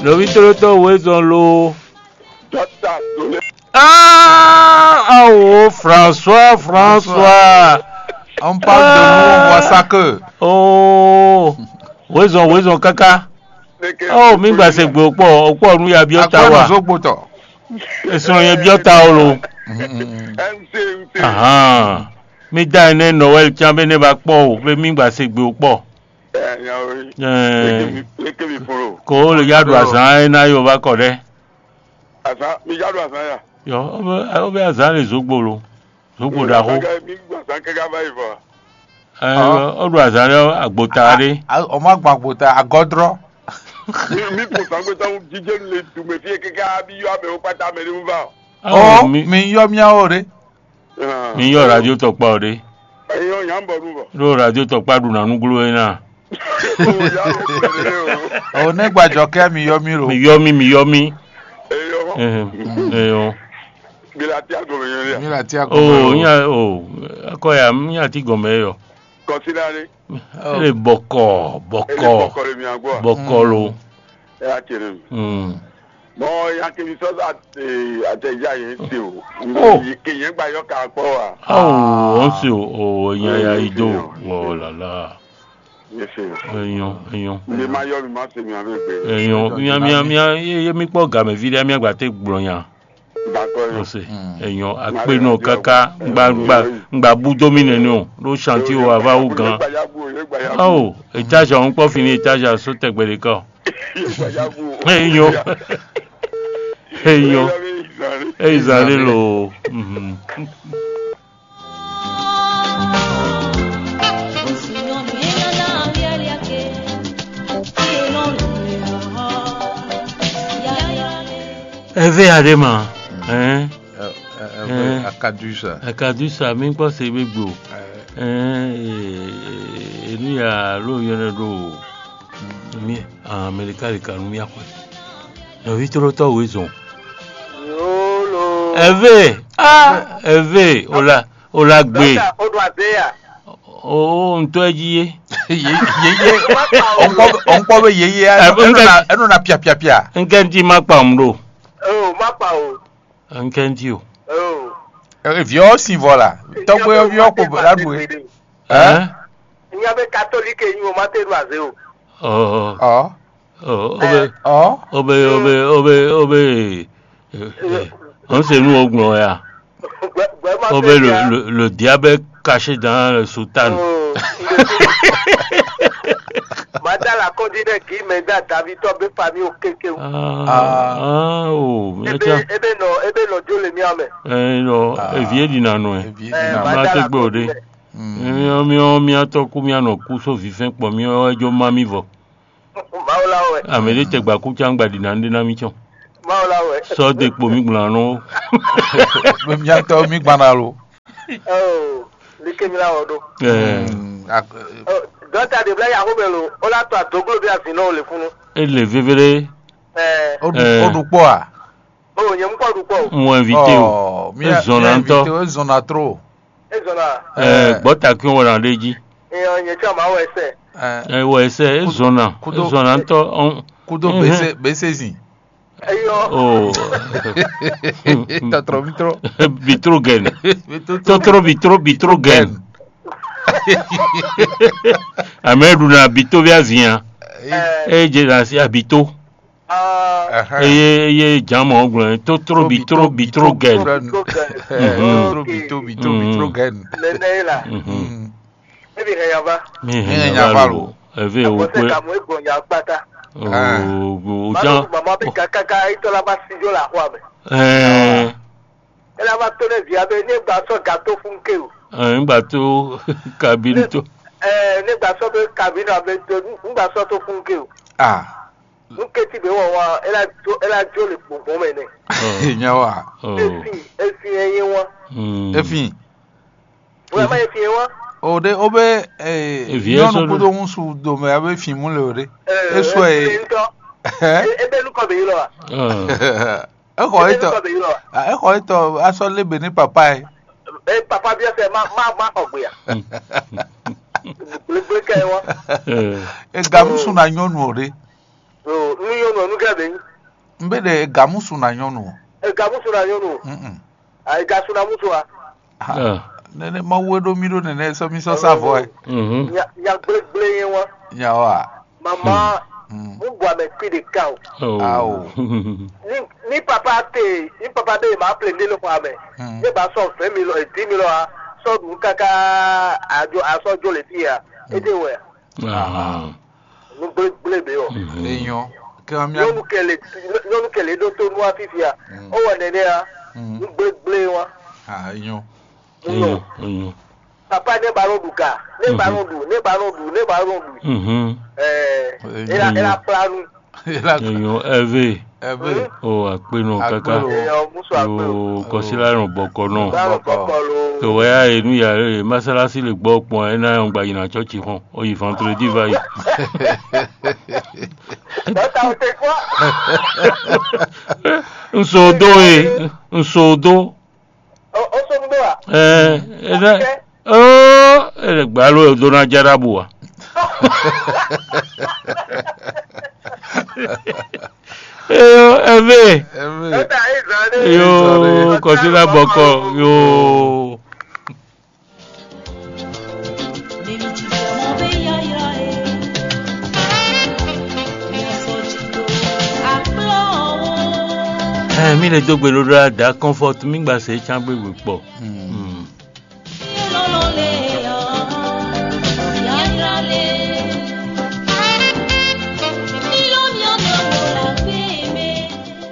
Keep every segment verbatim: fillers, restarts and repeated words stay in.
Nɔví tlóló tɔn wezɔn lo. Ah, awo François, François. On parle de nous, on voit ça que. Oh, wezɔn, wezɔn káká. Oh, mi gba se gbe okpɔ, okpɔ nu ya biɔ ta wa. Zogbo tɔ. Esɔn yɛ biɔ ta o lo. Ahan. Mi da ene Noël tian be ne ba kpɔ o, be mi gba se gbe okpɔ. Ɛɛ. Ko le ya ɖu azan e na yo va kɔ ɖɛ. Azan, mi ja ɖo azan ya. Yɔ, o be, o be azan le zogbo lo. Zogbo ɖaxó. Mi gbɔ azan kɛkɛ va yi vɔ. Ɛɛ, o ɖu azan ɖe agbota ɖe. O ma gbɔn agbota, agɔdrɔ. Mi mi ko zan gbeta ŋu jijɛ nu le du mɛ fi kɛkɛ abi yɔ amɛ wo kpata mɛ ɖe ŋu va. Ɔ, mi mi yɔ miawo ɖe. Mi yɔ radio tɔkpa o ɖe. Eyɔ nya bɔ nu bɔ. Ɖo radio tɔkpa ɖu na nuglo e na. O ne gbajɔ kɛ mi yɔ mi lo. Mi yɔ mi, mi yɔ mi. Eyɔ. Eyɔ. Bila ti agɔmɛ yɔ ya. Mi la ti agɔmɛ. O nya o akɔ ya mi nya ti gɔmɛ yɔ. Kɔsi la ni. Ele bɔkɔ bɔkɔ. Ele bɔkɔ le mi agbɔ. Bɔkɔ lo. Ɛ a cɛ ne. Bɔn ya kemi sɔ atɛja yẹn se o. Ke yẹn gba yɔ ka kpɔ wa. Awo ɔn se o o nya ya yi do. Wɔ lala. Yẹn se o. Eyɔn eyɔn. Mi ma yɔ mi ma se mi ame gbe. Eyɔn mia mia mia ye mi kpɔ gamɛ vi ɖe mia gba te gblɔ nya. Ose eyɔn akpe nɔ kaka ngba ngba ngba bu dó mi nɛnɛ o ɖo chantier o ava wu gan. Awo étage a ŋkpɔ fini étage a so tɛgbɛ ɖe kɔ. Eyɔn eyɔn eyi zan ɖe lo. Eve aɖe ma. Hein? Akadu sa. Akadu sa mi kpɔ se gbegbe o. Hein, enu ya lo yɔnɛ ɖo mi Amerika ɖe kanu mi axɔe. Nɔvi tlɔtɔ wezɔn. Yolo. Eve. Ah, eve. Ola ola gbe. Dɔkita o ɖo aze ya. O ŋutɔ ɛ dzi ye. Ye ye ye. Ɔnkpɔ ɔnkpɔ bɛ ye ye. Ɛnɔ na ɛnɔ na pia pia pia. Nkɛ ŋti ma kpa ŋu ɖo. O ma kpa o. Nkɛ ŋti o. O. Viɔ sin vɔ la. Tɔgbe viɔ ko la ɖu e. Hein? Nya be katolike nyi o ma te ɖo aze o. Ɔ. Ɔ. Ɔ. Obe obe obe obe obe. Ɔn se nu o gblɔ ya. Obe le le le diable caché dans le soutane. Madala kɔndi ɖe gi mɛ da davi tɔ be fami o keke o. Ah, oh, ebe ebe nɔ ebe nɔ jo le mia mɛ. Eh, non, eviye di na nɔ e. Ma te gbe o de. Miɔ miɔ miatɔ ku mianɔ ku so vifɛn kpɔ miɔ wɛ jo ma mi vɔ. Mawu la wɛ. Ame ɖe tɛ gba ku can gba ɖi na ɖe na mi cɔn. Mawu la wɛ. Sɔ de kpo mi gbla nɔ. Miatɔ mi gbana lo. Oh, like mi la wɔ ɖo. Ɛɛ. Dɔta de bla yaho mɛ lo, o la to adoglo bi azinɔ o le funu. Ele vevele. Ɛɛ. O ɖu o ɖu kpɔ a? O nyɛ mu kpɔ ɖu kpɔ o. Mo invité o. Ezɔnna ŋutɔ. Ezɔnna tro. Ezɔnna. Ɛɛ, gbɔta kí wọn ɖe jí. Eyɔ nyɛ tsɔ ma wɔ ɛsɛ. Ɛ wɔ ɛsɛ ezɔnna. Ezɔnna ŋutɔ. Kudo bese bese zin. Eyɔ. Oh. Tɔtrɔ mitro. Bitrogɛn. Tɔtrɔ bitro bitrogɛn. Amɛ ɖu na bito via zia. Ɛ. Eye dze na si abito. Eye eye jǎn mɔ̌ gblɔ tótró bitro bitro gɛn. Tótró bitro bitro bitro gɛn. Nɛnɛ ye la. Ebi hɛn yava. Mi hɛn yava lo. Eve o kwe. Kamu egbɔn ya kpata. O o ján. Mama bi kakaka itɔ la ba si jo la xɔ abɛ. Ɛɛ. Ela va to ne via be ne gba sɔ gato fun ke o. Ɛɛ n gba to kabine to. Ɛɛ ne gba sɔ be kabine abe to n gba sɔ to fun ke o. Ah. Nú kétí bě wɔ wá, é ná jó é ná jó le gbɔngbɔn mɛ nɛ. Nyawa. Efi efi ɛ yé wá. Efi. Wɛ má efi ɛ wá. O de o be ee Evi ɛ nyɔnu sɔ kudo ŋusu domɛ abe fi mu le o de. Eso ɛ. Ebe nukɔ bɛ yi lɔ wa. Exɔ Ebe etɔ nukɔ bɛ yi lɔ wa. Exɔ etɔ asɔ lebe ne papa ɛ. Ee papa bi ɛsɛ ma ma ma xɔ gbe ya. Gbelegble kɛ wá. Ega ŋusu na nyɔnu o de. Nú yɔnu ɔ́ nú kɛ ɖe nyí. Un be ɖe gamusu na nyɔnu. Egamusu na nyɔnu. Mm-mm. Egasu na musu a? Ah, nene Mawu e ɖo mì ɖo nene sɔ mì sɔ sa vɔ ɛ. Mhm. Nya nya gblégblé yẹn wá. Nya wa. Mama, Mm. Mu bɔ amɛ kpi ɖeka o. Oh. Awo. Ni ni papa te ni papa be ma ple ne le xɔ amɛ. Mm. Ne ba sɔ vingt mille et dix mille a sɔ ɖu kaka adzo asɔ dzo le fi ya. Ede wɛ. Ah. Nu gblégblé be o. Mhm. Enyɔ. Kɛ wa mia. Nyɔnu kɛlɛ nyɔnu kɛlɛ ɖo to nua fifia. Mm. O wɔ nene a. Mm. Nu gblégblé wa. Ah, enyɔ. Enyɔ, enyɔ. Papa ne ba nɔ ɖu ga, ne ba nɔ ɖu, ne ba nɔ ɖu, ne ba nɔ ɖu. Mhm. Ɛɛ, ela ela kpla nu. Enyɔ ɛvɛ. Ɛvɛ. O akpenɔ kaka. Akpenɔ. Ɛɛ, musu akpenɔ. Yo kɔsila nɔ bɔkɔ nɔ. Ba nɔ bɔkɔ lo. To wɛ ya e nu ya e masalasi le gbɔ kpɔn ɛ na yɔ gba yina tsɔtsi xɔn. O yi vendredi va yi. Dɔta o te kɔ. N so do e, n so do. O o so do a? Ɛɛ, e ɖe. Oo, e ɖe gba lo e do na jara bu wa. Eyo, ɛvɛ. Ɛvɛ. Dɔta e zan de. Yo, kɔsila bɔkɔ, yo. Ɛ, mi le dó gbe ɖó ɖá da kɔnfɔt mi gba se can gbégbé kpɔ. Hmm.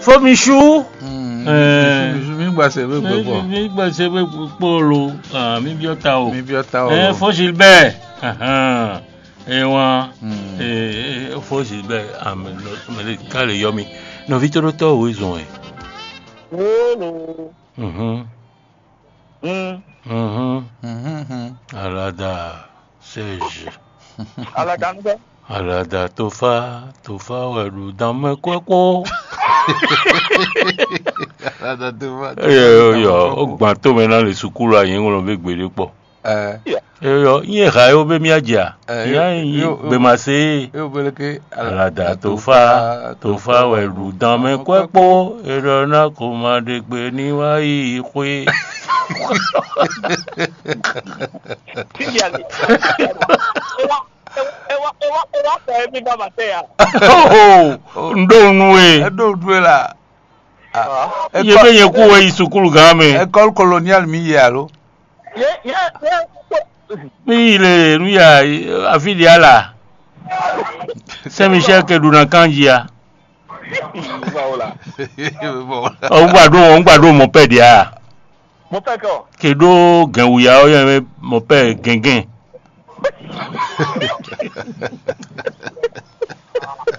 Fo mi su. Hmm. Ɛ. Mi gba se gbégbé kpɔ. Mi gba se gbégbé kpɔ lo. Ah, mi biɔ ta o. Mi biɔ ta o. Ɛ, fo Gilbert. Ahan. Ewa. Hmm. Ɛ, fo Gilbert. Ah, mais le cas le yɔ mi. Nɔvi to ɖo tɔ o zɔn ɛ. Wolo. Mhm. Mm. Mhm. Mhm. Alada Serge. Alada ŋutɔ. Alada tofa tofa wɛ ɖu dan mɛ kɔ́ kpó. Alada tofa. Eyɔ eyɔ o gban to mɛ na le sukulu a yɛn ŋlɔ be gbeɖe kpɔ. Ɛ. Eyɔ nyɛ ha yo be mia dza. Ɛ, ya yo, yi yo, yo. Be ma se. Yo bele ke. Alada tofa tofa wɛ ɖu dan mɛ kɔ́ kpó. Erɔ na ko ma ɖe gbe ní wá yi xwé. Fífi ali. Ewa ewa ewa ewa ewa fɛ mi ba ma tɛ ya. Oh, n ɖo nu e. Eɖo nu e la. Ah. Ye be nyɛ kú wɛ yi sukulu gán mɛ. École coloniale mi yi alo? Ye ye ye. Mi yi le nu ya afi ɖe ala. Saint Michel ke ɖu na kanji ya. Ɔ, un gba ɖo un gba ɖo mɔ pɛ ɖe a? Mo fẹ́ kọ́. Ke ɖo gɛnwuya ɔ yɛ mɔ pɛ gɛngɛn.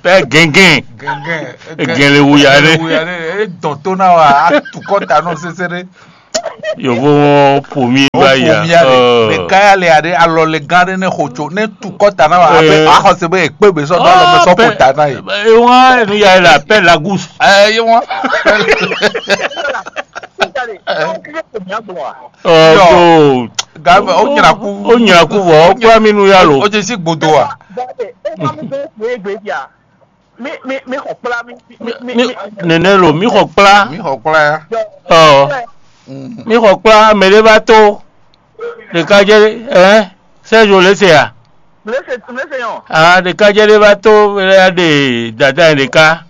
Pɛ gɛngɛn. Gɛngɛn. Gɛn le wuya ɖe. Wuya ɖe. E dɔn to na wa. A tu kɔ ta nɔ sese ɖe. Yovo wọn pomi ba ya. Pomi ale. Ɔ. Ɖeka ya le aɖe alɔ le gã ɖe ne xo tso ne tu kɔ ta na wa. Abe axɔse be ekpe be sɔ do alɔ me sɔ ko ta na ye. Ewa enu ya le appel la gousse. Ɛ ye wọn. Ɔ, Yɔ. Ko. Gabe, o nyra kú. O nyra kú vɔ, o kpla mi nu ya lo. O jɛ si gbodo wa. Gabe, e ma mi bɛ kpe egbe dia. Mi mi mi xɔ kpla mi mi mi. Nene lo, mi xɔ kpla. Mi xɔ kpla ya. Ɔ, mi xɔ kpla, mɛ ɖe va to. Ɖeka jɛ, ɛ, Serge le se ya. Le se le se yɔn. Ah, ɖeka jɛ ɖe va to, ya ɖe dada ɖeka.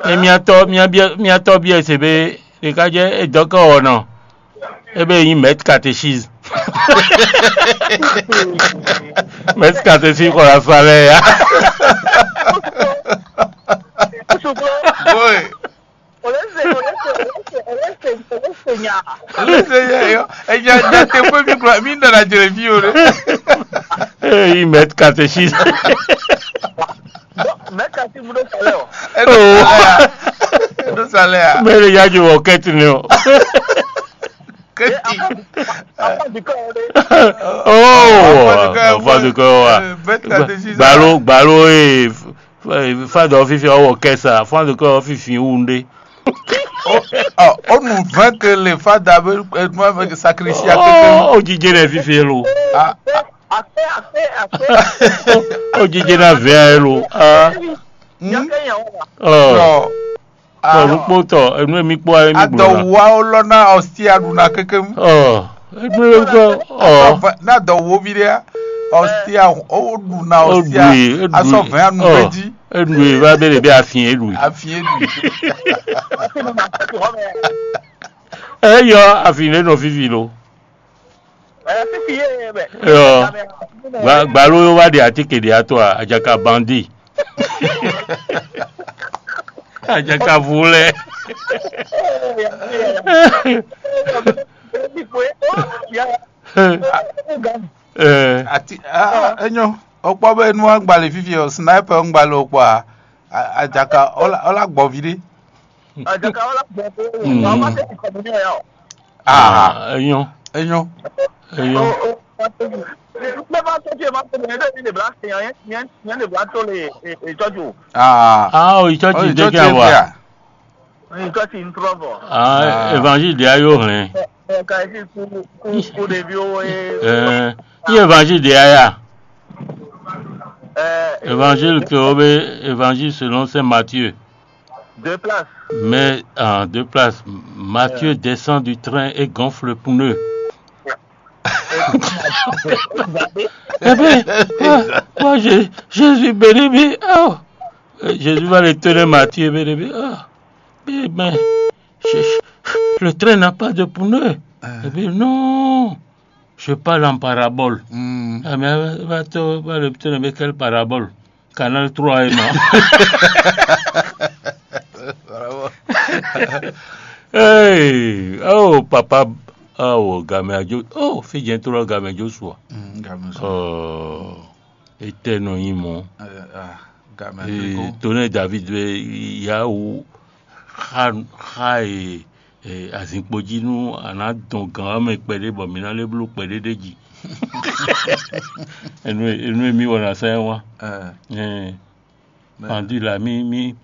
Ne miatɔ miabiɛ miatɔ biɛ se be ɖeka jɛ edɔkɛ ɔnɔ. Ebe yi mɛt katechise. Mɛt katechise xɔ la sa lɛ ya. Boy. Olese olese olese olese olese nya. Olese ya yo. Eya da te ko mi kura mi da na jere fi o re. Yi mɛt katechise. Mɛ kasi mu ɖo salɛ o. Eɖo salɛ a? Eɖo salɛ a? Mɛ ɖe ya jo wɔ kɛti ne o. Kɛti. Afa dukɔ yɛ ɖe. Oh, afa dukɔ wa. Gbalo gbalo e fadɔ fifi ɔwɔ kɛsa fadɔ kɔ fifi wu ɖe. O nu vɛn ke le fada be sakrisia keke. O jije ɖe fifi lo. Akpé akpé akpé. O jije na vɛ lo. Nya kɛ nya wa. Ɔ, Ɔ, tɔ ɖokpó tɔ, enu e mi kpó ayé mi gblɔ na. Adɔwuwa ó lɔ ná ɔsí aɖu ná kéké. Ɔ, enu e mi kpó, ɔ, Adɔvɛ ná dɔwuwo vi ɖé ɔsí ó ɖu ná ó ɔsí ɖu e, é ɖu asɔ e. Vɛn anu Ɔ, gbé jí. É ɖu e va bɛ ɖe bɛ afin é ɖu e. Afi é ɖu. Ɛ yɔ afin ɖe nɔ fifi lo. Ɛ fifi yé bɛ. Yɔ. Gba- gbalo yó wá ɖe atíke ɖe atɔ a ajaka bandi. Ajaka vu lɛ. Ɛ, Ati ah, enyo. Okpɔ be nu agbalẽ fifi o sniper ngbalẽ okpɔ a. A- Ajaka ola ola gbɔ vi ɖe. Ajaka wala gbɔ ko. Mm. Wa ma tɛ kɔmuni ya o. Ah, Enyo, enyo. Enyo. Mɛ ma tɔjú ɛ ma tɔjú ɛ ní lè bla sèyàn yẹn yẹn yẹn lè bla tó lè ìtọ́jú o. Ah, Ah, o ìtọ́jú oh, dé kí a wà. Ìtọ́jú ń tọrọ bọ̀. Ah, Ah. Évangile de ayo hɛn. Ẹ ká ẹ sì kú kú kú débi owó yẹn. Ẹ, ní évangile de aya. Ẹ Évangile que o be évangile selon Saint Matthieu. Deux places. Mais en deux places, Matthieu descend du train et gonfle le pneu. Eh bien, moi, moi, je, je suis béni, mais oh, euh, Jésus va retourner Matthieu, béni, mais oh, mais, mais, je- je- le train n'a pas de pneu. Eh bien, non, je parle en parabole. Hmm. Ah, mais va te va retourner avec quelle parabole? Canal trois et moi. Bravo. Hey, oh papa, oh gamɛ ajo, oh fidjɛn to lɔ gamɛ Joshua. Mm, gamɛ so. Oh, etɛ nɔ nyi mɔ. Eh, ah, gamɛ Eh, Afriko. Tonɛ David be yawu xa xa e eh, azinkpo jí nú a nǎ dɔn gǎn ɔ́ mɛ kpɛɖé bɔ mǐ ná lɛ́ bló kpɛɖé ɖ'é jí. Enu e enu e mí wɔ ná sɛn wá. Eh, Eh, mɛ- Pandu la mí mí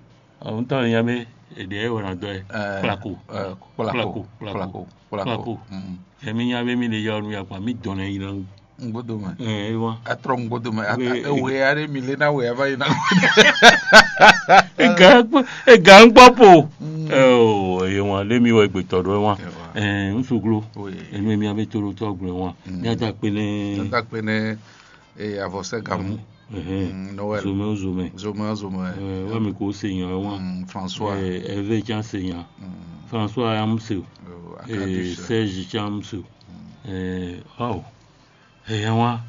ɔntɔ́ nya bé èɖè ɛ wɔ ná dɔ ɛ. Eh, Kplako. Eh, kplako, Kplako, kplako, kplako. Kplako. Mm. Ɛ mí nya bé mí ɖe yɔ nu ya kpa mí dɔn ɛ yi ná. Ŋgbódo mɛ. Ɛ wá. Atrɔ ŋgbódo mɛ. Ata- Wé- Ewe aɖe mi lé na we ava yi na. Ega ŋkpɔ ega ŋkpɔ po. Mm. Ɛ o eye wan lé mi wɔ egbetɔ ɖo ɛ wan. Ɛ wá. Ɛ ŋsuglo. Oui. Enu mi abe to ɖo tɔ gblɔ wan. Mm. Mi ata kpe nɛ. Tata kpe nɛ. Eye avɔsɛ gamu. Ɛhɛn. Mm, Noël. Zomɛ o zomɛ. Zomɛ o zomɛ. Ɛ wa mi ko se nya ɛ wan. Mm, François. Ɛ ɛvɛ can se nya. Mm. François ya mu se o. Oh, Ɛ Arcadius. Serge can mu se o. Mm. Ɛ awo. Ɛ yɛn wa.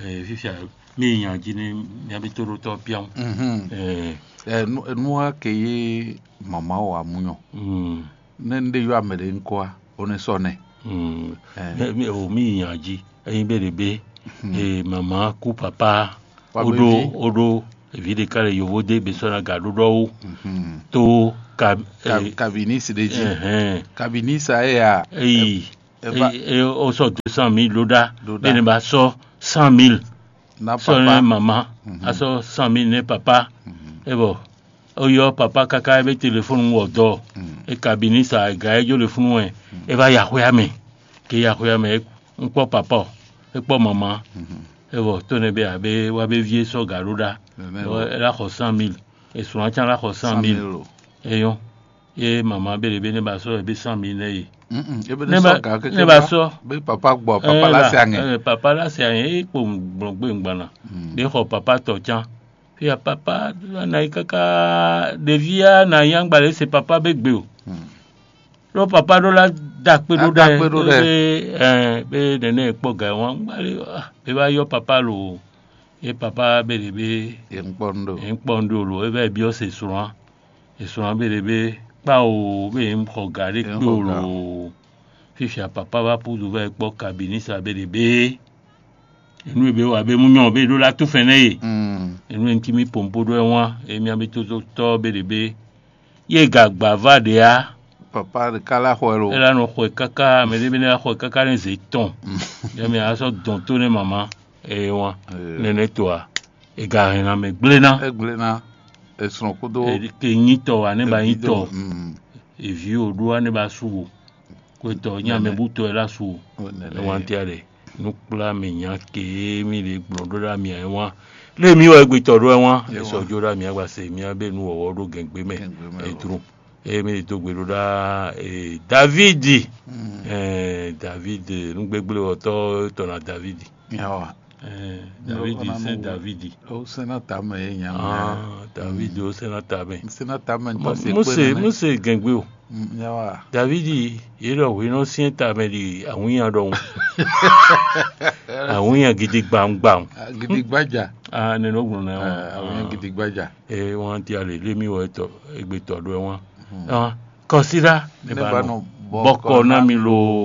Ɛ fifia mi nya ji ni mi abi to ɖo tɔ pian. Mhm. Ɛ Ɛ, nu- nu wa ke ye mama wa munyɔ. Mm. Ne n ɖe yɔ ame ɖe ŋkɔ a, o ne sɔ nɛ. Mm. Ɛ. Mɛ- mɛ- o mi nya ji eyin be ɖe be Hmm. E mama ku papa Wa o be ɖo vi. O ɖo evi ɖeka le yovo de be sɔ na ga ɖo ɖɔ wo Mhm. To ka Ka- eh, Kabini si ɖe dzi. Ɛhɛn. Kabini sa ye ya. Eyi Eva- e o sɔ deux cent mille ɖo ɖa Ɖo ɖa. Be ne ba sɔ cent mille. Na Sɔ ne papa. Mama Mhm. A sɔ cent mille ne papa. Mhm. E bɔ o yɔ papa kaka e be telefɔnu wɔ dɔ. Mhm. E kabini sa ga e jo le funu wɛ. E va ya xwé amɛ. Ke ya xwé amɛ e kpɔ papa o, e kpɔ mama. Mhm. E bɔ to ne be abe wa be vie sɔ ga ɖo ɖa. Nene Bɔ o. E la xɔ cent mille. E sɔn atsan la xɔ cent mille. Cent mille o. Eyɔn. Ye mama be ɖe be ne ba sɔ e be cent mille ne ye. Mm-mm. Ebe Ne ne ba- sɔ ga ne kékeré ba ba. Sɔ. Be papa gbɔ, papa la se aŋɛ. Papa la se aŋɛ e kpo gblɔgbe ŋgbana. Mm. Be xɔ papa tɔ can. Fia papa na yi kaka ɖevia na yi angba le se papa be gbe o. Mm. Ɖo papa ɖo la da akpe ɖo Ada ɖa akpe ɖo ɖa. Be ɛ be nene kpɔ ga wan angba le ah, be va yɔ papa lo. Ye papa be ɖe be Ye ŋkpɔ nu ɖo. Ye ŋkpɔ nu ɖo lo e va yi biɔ se srɔ̃. Esɔn be ɖe be kpa o be nyɛ xɔ ga ɖé Nyɛ kpe xɔ o ga. Lo. Fifia papa va pudu va yi kpɔ kabinisa be ɖe be enu e be wa be mu nyɔ be ɖo la tu fɛn nɛ ye. Mm. Enu e ŋuti mi pompo ɖo ɛ wan emi abe tototɔ be ɖe be ye ga gba va ɖe a. Papa ɖeka la xɔ ɛ lo. Ela nɔ xɔ ɛ kaka mɛ ɖe be ne la xɔ ɛ kaka ne ze tɔn. Mm. Yɛ mi asɔ dɔn to ne mama eye wan Ee. Nɛnɛ to a. Ega hɛn lanmɛ gblé ná. Egblé ná. Esrɔn kúdó Ke nyí tɔ wa ne ba nyí evi tɔ. Do, mm. Evi o ɖó wa ne ba su wo. Kwetɔ nyí amɛ bú tɔ ɛ la su wo. Nɛnɛ. Ewan tia ɖe nukpla mi nya ke mi ɖe gblɔ ɖó ɖa mi ayi wan. Lé mi wɔ egbe tɔ ɖó ɛ wán. Esɔ jó ɖá mi agba se mi abé nu wɔwɔ ɖó gɛngbé mɛ. Edró. Eye mi ɖi dó gbe ɖó ɖá. Davidi. Davidi nugbegblewɔtɔ tɔ na Davidi. Davidi sɛn Davidi. Ó sɛn ná tamɛ yé nya mɛ. Davidi ó sɛn ná tamɛ. Sɛn ná tamɛ tɔ se kpé Mose nɛnɛ. Mose gɛngbé o. Davidi yě ɖɔ hwinɔ syɛ́n tamɛ ɖi awǐnya ɖɔhun. Awǐnya gidi gbawungbawu. Gidi gbadza. Ah, nɛnɛ ó gblɔ nɛ wọn. Awǐnya gidi gbadza. Eye wọn ti ale lé mi wɔ etɔ egbe tɔ ɖo ɛ wọn. Kɔsíɖá ne ba nɔ bɔkɔ ná mi lo.